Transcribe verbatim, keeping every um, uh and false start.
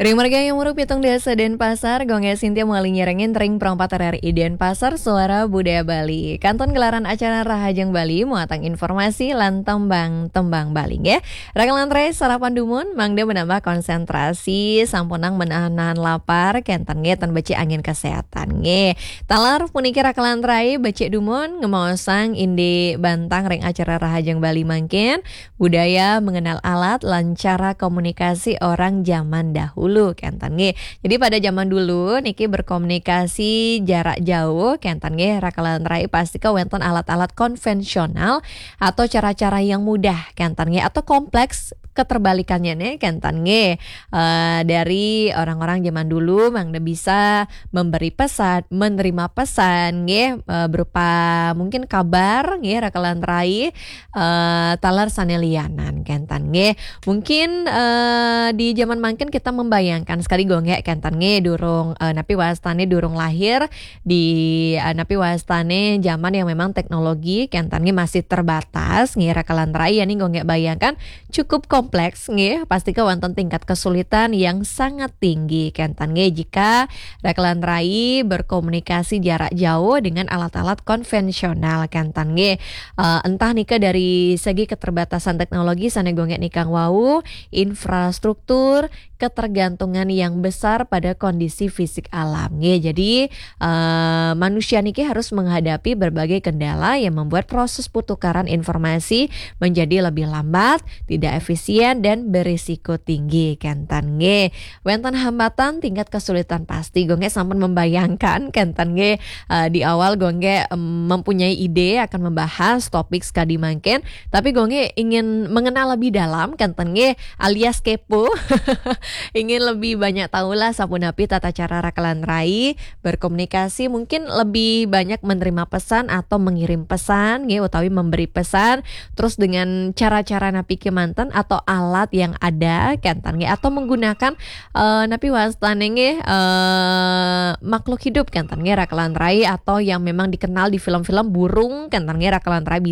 Ring margi yang muruk pitung dasa Denpasar, Gung Gek Sintia mawali nyarengin ring Pro empat R R I Denpasar, Suara Budaya Bali. Kantun gelaran acara Rahajeng Bali, muatan informasi lan tembang-tembang Bali, nggih. Raka lan rai sarapan dumun, mangda menambah konsentrasi, sampunang menahan-nahan lapar, kenten nggih, tan becik angin kesehatan, nggih. Taler puniki raka lan rai becik dumun, ngemaosang indik bantang ring acara Rahajeng Bali mangkin, budaya mengenal alat lan cara komunikasi orang zaman dahulu, kenten nggih. Jadi pada zaman dulu niki berkomunikasi jarak jauh, kenten nggih, raka lan rai pastika wenten alat-alat konvensional atau cara-cara yang mudah, kenten nggih, atau kompleks keterbalikannya nih, kenten nggih. Eh, dari orang-orang zaman dulu mangda bisa memberi pesan, menerima pesan nggih, eh, berupa mungkin kabar nggih, raka lan rai, eh, taler sane lianan, kenten nggih. Mungkin, eh, di zaman mangkin kita membayangkan sekali Gung Gek, kenten nggih, durung, eh, napi wastane durung lahir, di, eh, napi wastane zaman yang memang teknologi, kenten nggih, masih terbatas nggih, raka lan rai, ya nih Gung Gek bayangkan cukup kompleks nggih, pastika wonten tingkat kesulitan yang sangat tinggi, kenten nggih, jika raka lan rai berkomunikasi jarak jauh dengan alat-alat konvensional, kenten nggih. Eh, entah nika dari segi keterbatasan teknologi sane Gung Gek nikang wau, infrastruktur, ketergantungan yang besar pada kondisi fisik alam nggih. Jadi, eh, manusia niki harus menghadapi berbagai kendala yang membuat proses pertukaran informasi menjadi lebih lambat, tidak efisien, dan berisiko tinggi, kenten nggih. Wenten hambatan tingkat kesulitan pasti, Gung Gek sampun membayangkan, kenten nggih, eh, di awal Gung Gek, em, mempunyai ide akan membahas topik sekadi mangkin, tapi Gung Gek ingin mengenal lebih dalam, kenten nggih, alias kepo. Ingin lebih banyak tahulah sapunapi tata cara raka lan rai berkomunikasi, mungkin lebih banyak menerima pesan atau mengirim pesan nggih, utawi memberi pesan, terus dengan cara-cara napi kemanten atau alat yang ada, kenten nggih, atau menggunakan, eh, napi wastane nggih, eh, makhluk hidup, kenten nggih, raka lan rai, atau yang memang dikenal di film-film burung, kenten nggih, raka lan rai, bisa